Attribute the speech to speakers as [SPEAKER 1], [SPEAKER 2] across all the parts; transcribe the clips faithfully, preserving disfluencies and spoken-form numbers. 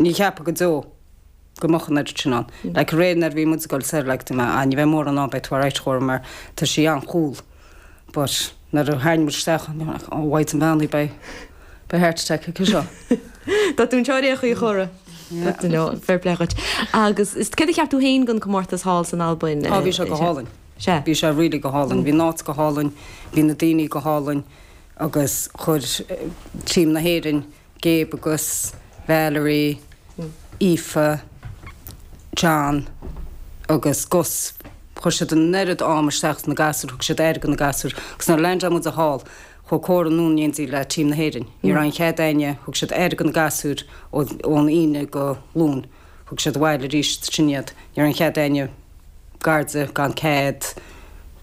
[SPEAKER 1] Ní cheapfá go deo go mbeadh an oiread sin ann. Like aréir nuair a bhí muid ag dul soir like dúirt mé ah ní bheidh mórán ann beidh tú alright a Chóra mar tá sí an-cool. But nuair a tháinig muid isteach bhí mé like oh mhaighdean bheannaithe beidh beidh heart attack aici seo.
[SPEAKER 2] Tá tú anseo ar aon chaoi a Chóra. Tá no fair play dhuit. Agus is céard a cheap tú féin den comórtas thall san Albain?
[SPEAKER 1] Á bhí sé go hálainn.
[SPEAKER 2] Sea.
[SPEAKER 1] Bhí sé really go hálainn. Bhí an áit go hálainn, bhí na daoine go hálainn agus chuir team na hÉireann Gabe agus Valerie, Aoife, John agus Gus chuir siad an oiread am isteach sna gasúir, thug siad aire do na gasúir agus nuair a landáil muid thall chuaigh Córa anonn in éindí le team na hÉireann. Ní raibh aon chead éinne, thug siad aire do na gasúir ón Aoine go Luan. Thug siad abhaile arís sin iad. Ní raibh aon chead éinne gar di gan cead.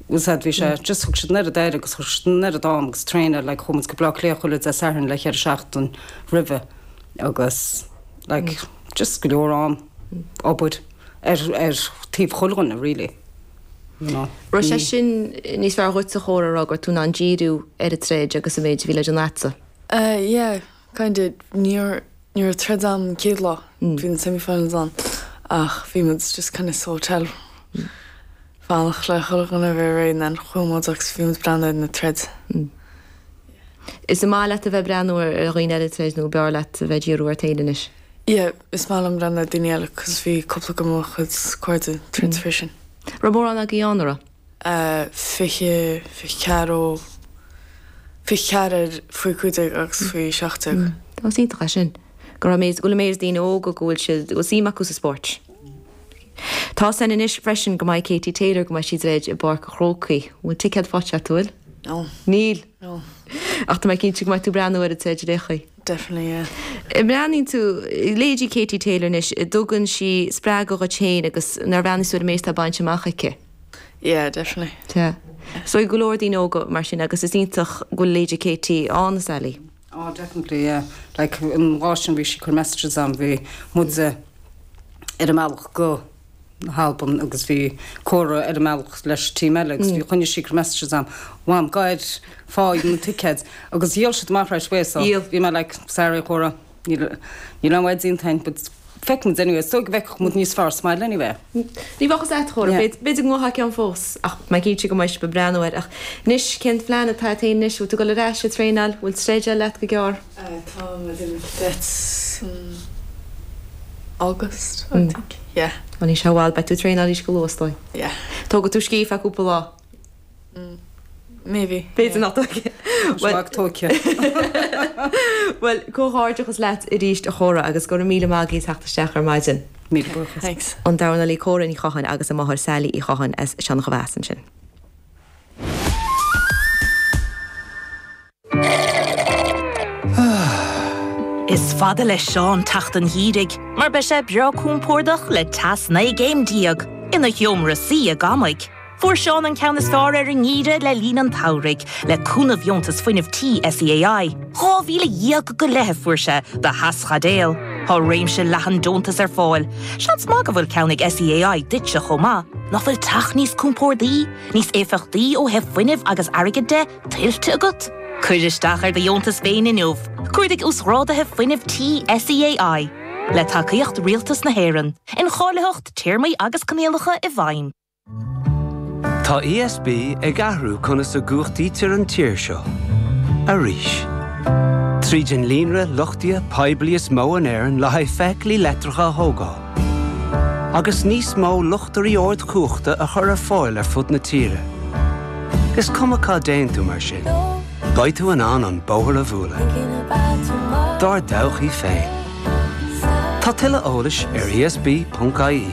[SPEAKER 1] Bhfuil a fhios agat bhí sé just thug siad an oiread aire agus chuir siad an oiread am agus traenáil like chuaigh muid go Bleá Cliath chuile Dé Sathairn le ceithre seachtain roimhe agus like just go leor am obair ar ar taobh chuile dhuine really. You know.
[SPEAKER 2] Raibh sé sin níos fearr dhuit a Chóra a rá go raibh tú in ann díriú ar an troid agus an méid a bhí le déanamh agatsa?
[SPEAKER 3] Uh, yeah, kind of níor ní raibh troid ann an chéad lá bhí na semi-finals ann ach bhí muid just kind of sa hotel fanacht le chuile dhuine a bheith réidh and then chuaigh muid agus bhí muid breathnú ar na troid.
[SPEAKER 2] Is maith leat a bheith breathnú ar ar dhaoine eile troid nó b'fhearr leat a bheith díriú ort féin anois?
[SPEAKER 3] Yeah, is maith liom breathnú ar daoine eile cos bhí cúpla de mo chuid cairde troid freisin.
[SPEAKER 2] Raibh mórán agaibh ann, an raibh?
[SPEAKER 3] Uh, fiche fiche ceathair ó fiche ceathair faoi cúig déag agus faoi seacht déag.
[SPEAKER 2] Tá is iontach é sin. Go raibh méid go bhfuil méid daoine óga go bhfuil siad go bhfuil suim acu sa spórt. Tá sin anois freisin go mbeidh Katie Taylor go mbeidh sí ag troid i bPáirc an Chrócaigh. Bhfuil ticéad faighte agat, bhfuil?
[SPEAKER 3] No.
[SPEAKER 2] Níl.
[SPEAKER 3] No.
[SPEAKER 2] Ach tá mé cinnte go mbeidh tú breathnú ar an troid ar aon chaoi.
[SPEAKER 3] Definitely, yeah.
[SPEAKER 2] Breathnaíonn tú leithéidí Katie Taylor anois, dtugann sí spreagadh dhuit féin agus nuair a bhreathnaíos tú ar an méid atá bainte amach aici.
[SPEAKER 3] Yeah, definitely.
[SPEAKER 2] Tá. So go leor daoine óga mar sin agus is iontach go bhfuil leithéidí Katie ann Sally.
[SPEAKER 1] Oh, definitely, yeah. Like an lá sin bhí sí ag cur messages agam bhí muid ar an mbealach go hAlbain agus bhí Córa ar an mbealach leis team eile agus bhí choinnigh sí ag cur messages agam. Mham gair fáigh na tickets agus dhíol siad amach right away so
[SPEAKER 2] Dhíol.
[SPEAKER 1] bhí mé like sorry Córa níl níl an wedding time but feicfimid anyway so go bhfeicfeadh muid níos fearr sa mbaile anyway.
[SPEAKER 2] Ní bheadh a Chóra
[SPEAKER 1] Yeah.
[SPEAKER 2] b'fhéidir go mbeadh ceann fós ach mé cinnte go mbeidh sibh ag breathnú air ach anois cén plean atá agat anois bhfuil tú ag dul ar ais ag traenáil bhfuil troid eile leat go gearr.
[SPEAKER 3] Uh, tá muid in cadets in August, I think. Yeah.
[SPEAKER 2] Ní se bhil beidh tú ag traenáil go luath dóigh.
[SPEAKER 3] Yeah.
[SPEAKER 2] Tógfaidh tú scíth feadh cúpla lá.
[SPEAKER 3] Maybe.
[SPEAKER 2] B'fhéidir nach
[SPEAKER 1] Well tóice.
[SPEAKER 2] Well comhghairdeachas leat arís a Chóra agus go raibh míle maith agat teacht isteach ar maidin.
[SPEAKER 1] Míle buíochas.
[SPEAKER 3] Thanks.
[SPEAKER 2] An dornálaí Córa Ní Chatháin agus a máthair Sally Uí Chatháin as Seancha ansin.
[SPEAKER 4] Is fada le Seán teacht an gheimhridh, mar beidh sé breá compordach le teas naoi gcéim déag ina sheomra suí i gCamaigh. Fuair Seán an ceann is fearr ar an ngeimhreadh le linn an tsamhraidh, le cúnamh dheontas fuinnimh tí SEAI. Dhá mhíle dhéag go leith fuair sé do theaschaidéal. Tá réimse leathan deontas ar fáil. Seans maith go bhfuil ceann ag SEAI duitse chomh maith, nach bhfuil teach níos compordaí, níos éifeachtaí ó thaobh fuinnimh agus airgid de tuillte agat? Cuir isteach ar do dheontas féin inniu, Cuardaigh uasghráduithe fuinnimh tí SEAI. Le tacaíocht Rialtas na hÉireann, incháilitheacht téarmaí agus coinníollacha i bhfeidhm.
[SPEAKER 5] Tá ESB ag athrú conas a chumhachtaítear an tír seo. Arís. Tríd an líonra luchtaithe poiblí is mó in Éirinn le haghaidh feithiclí leictreacha a thógáil. Agus níos mó luchtairí ardchumhachta a chur ar fáil ar fud na tíre. Is cuma cá dtéann tú mar sin. Beidh tú in ann an bóthar a bhualadh. Dár dtodhchaí féin. Tá tuilleadh eolais ar ESB.ie.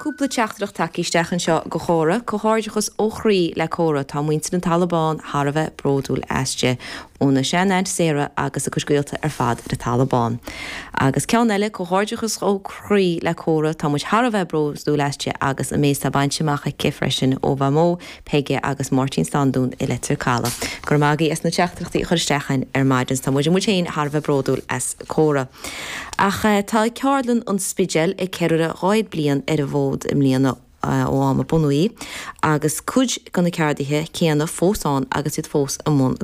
[SPEAKER 2] Cúpla teachtaireacht tagtha isteach anseo go Chóra, comhghairdeachas ó chroí le Córa tá muintir an Talamh Bán thar a bheith bródúil aisti óna sean-aint Sarah agus a cuid gaolta ar fad ar an Talamh Bán. Agus ceann eile comhghairdeachas ó chroí le Córa tá muid thar a bheith bródúil aisti agus an méid atá bainte amach aici freisin ó Mhamó, Peige agus Máirtín Standún i Leitir Caladh. Gur magaí as na teachtaireachtaí chur isteach ar maidin tá muid muid féin thar a bheith bródúil as Córa. Ach eh, tá Ceardlann an Spidéil ag ceiliúradh dhá chéad bliain ar an bhfód i mbliana ó am a bunaíodh í, agus cuid de na ceardaithe céanna fós ann agus iad fós i mbun